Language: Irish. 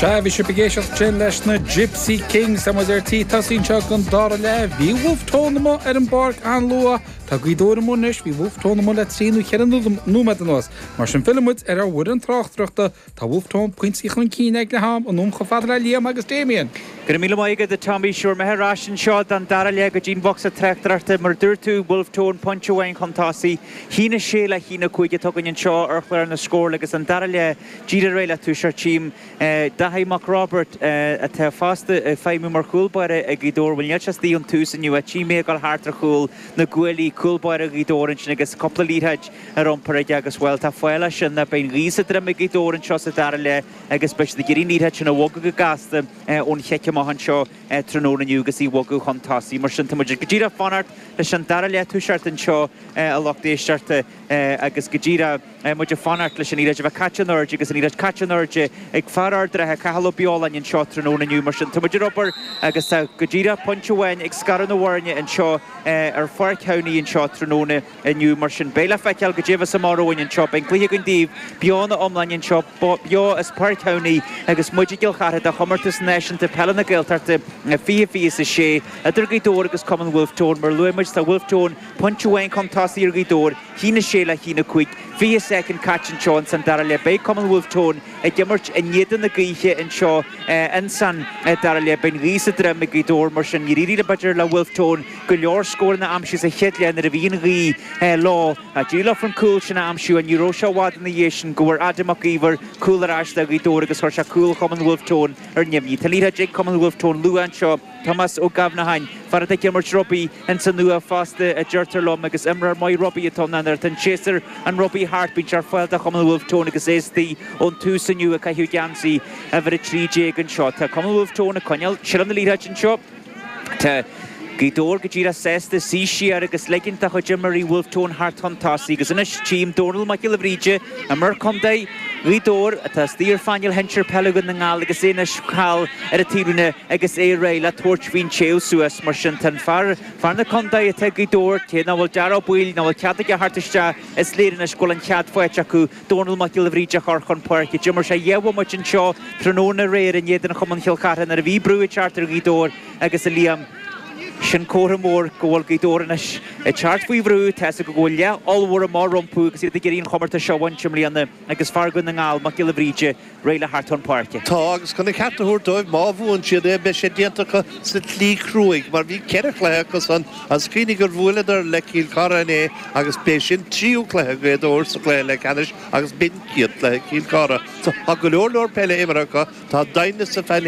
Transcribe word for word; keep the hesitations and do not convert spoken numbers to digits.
Sea, bhí sibh ag éisteacht ansin leis na Gypsy Kings. Tá muid ar tí tosaí anseo don dara leath. Bhí Wolfe Tone amuigh ar an bpáirc an-luath. Tá Gaoth Dobhair amuigh anois, bhí Wolfe Tone amuigh le trí nó ceithre nóiméad anuas. Mar sin filleann muid ar ár bhfoireann tráchtaireachta. Tá Wolfe Tone pointí chun cinn ag leath am, anonn chomh fada le Liam agus Damien. Go raibh míle maith agat, a Tommy. Sure, mé ar ais anseo don dara leath go dtí'n bhocsa tráchtaireachta mar dúirt tú Wolfe Tone pointe amháin chun tosaigh. Haon a sé le haon a cúig atá againn anseo ar chlár na scór agus an dara leath díreach réidh le toiseacht. Tchím Daithí Mac Roibeaird atá fosta ag feidhmiú mar chúl báire ag Gaoth Dobhair. Bhuel níl sé istigh ón tús inniu. Tchím é ag dul thart ar chúl na gcuaillí cúl báire Ghaoth Dobhair ansin agus cúpla liathróid ar iompar aige agus bhuel tá fáil leis sin beidh an ghaoth sa droim ag Gaoth Dobhair anseo sa dara leath agus beidh siad ag iarraidh an liathróid sin a bhogadh go gasta ón chic amach anseo tráthnóna inniu agus í bhogadh chun tosaigh. Mar sin tá muid go díreach fanacht leis an dara leath toiseacht anseo a lucht éisteachta agus go díreach muid ag fanacht leis an liathróid a bheith caite in airde agus an liathróid caite in airde ag fear Ard an Rátha Cathal Ó Beoláin anseo tráthnóna inniu mar sin tá muid ar obair agus tá go díreach pointe amháin ag scaradh na bhfoirne anseo ar Pháirc Thamhnaigh anseo tráthnóna inniu mar sin beidh le feiceáil goidé a bheas amach romhainn anseo beidh cluiche againn daoibh beo ina iomláine anseo beo as Páirc Thamhnaigh agus muid i gCill Chartha do chomórtas náisiúnta peile na Gaeltachta fiche fiche is a sé idir Gaoth Dobhair agus Cumann Wolfe Tone mar luaigh muid tá Wolfe Tone pointe amháin chun tosaigh ar Ghaoth Dobhair haon a sé le haon a cúig fiche soicind caite anseo ins an dara leath beidh Cumann Wolfe Tone ag imirt in éadan na gaoithe anseo ins an dara leath beidh an ghaoth sa droim ag Gaoth Dobhair mar sin níor éirigh le b'fhéidir le Wolfe Tone go leor scóranna a aimsiú sa chéad leath nuair a bhí an ghaoth leo d'éirigh leo an cúl sin a aimsiú an ní raibh sé i bhfad ina dhiaidh sin go bhfuair Adam Mac Íomhair cúl ar ais do Ghaoth Dobhair agus chuir sé cúl Chumann Wolfe Tone ar neamhní. Tá liathróid ag Cumann Wolfe Tone luath anseo Tomás Ó Gabhnaháin fear atá ag imirt rugbaí insa Nua fosta a deirtear liom agus imreoir maith rugbaí atá ann ar an séasúr an rugbaí thart bíonn sé ar fáil do Chumann Wolfe Tone agus é istigh ón tús inniu ag caitheamh geansaí uimhir a trí déag anseo. Tá Cumann Wolfe Tone ag coinneáil seilbh na liathróide anseo. Tá Gaoth Dobhair go díreach sásta suí siar agus ligint dá chuid imreoirí Wolfe Tone thart chun tosaigh agus anois tchím Dónal Mac Giolla Bhríde imreoir contae Ghaoth Dobhair atá istigh ar phainéal shinsir peile Dhún na nGall agus é anois thall ar an taobhlíne agus é réidh le tabhairt faoin téamh suas mar sin tá an fear fear na contae atá Gaoth Dobhair cé nach bhfuil Dara Ó Baoill nach bhfuil cead aige thart isteach is léir anois go bhfuil an cead faighte acu Dónal Mac Giolla Bhríde a chur chun páirce. D'imir sé dhá bhomaite anseo tráthnóna aréir in éadan Chumann Chill Chartha nuair a bhí brú ag teacht ar Ghaoth Dobhair agus a Liam sin comhartha mór go bhfuil Gaoth Dobhair anois ag teacht faoi bhrú tá go bhfuil leath ollmhór amach rompu agus iad ag iarraidh an chomórtas seo a bhaint i mbliana agus fear Dhún na nGall Mac Giolla Bhríde réidh le thart chun páirce. Tá agus chun a ceart a thabhairt dóibh má bhuann siad é beidh sé déanta acu sa tslí chruaidh mar bhí ceithre chluiche acu san agus cuimhnigh gur bhuaileadar le Cill Chartha inné agus b'é sin tríú cluiche Ghaoth Dobhair sa chluiche leathcheannais agus b'in chéad chluiche Chill Chartha. So tá go leor leor peile imeartha acu tá doimhneas sa phainéal